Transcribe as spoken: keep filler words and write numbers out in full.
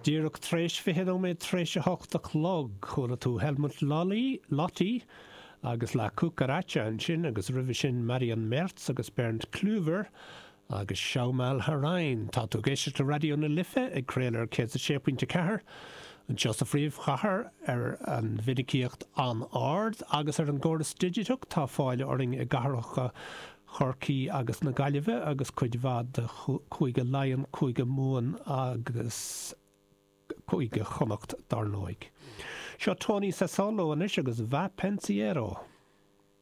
Díreach tar éis fiche nóiméad tar éis a hocht a chlog, chuala tú Helmut Lotti, Lotti agus La Cucaracha ansin agus roimhe sin Marion Merz agus Bernd Clüver agus Schau mal herein. Tá tú ag éisteacht le Raidió na Life ag craoladh ar céad sé pointe ceathair anseo sa phríomhchathair ar an mhinicíocht an-ard agus ar an gcóras digiteach tá fáil orainn i gcathracha Chorcaí agus na Gaillimhe agus cuid mhaith de Chúige Laighean, Cúige Mumhan agus Cúige Chonnacht dar ndóigh. Seo Tony Sassolo anois agus Va Pensiero.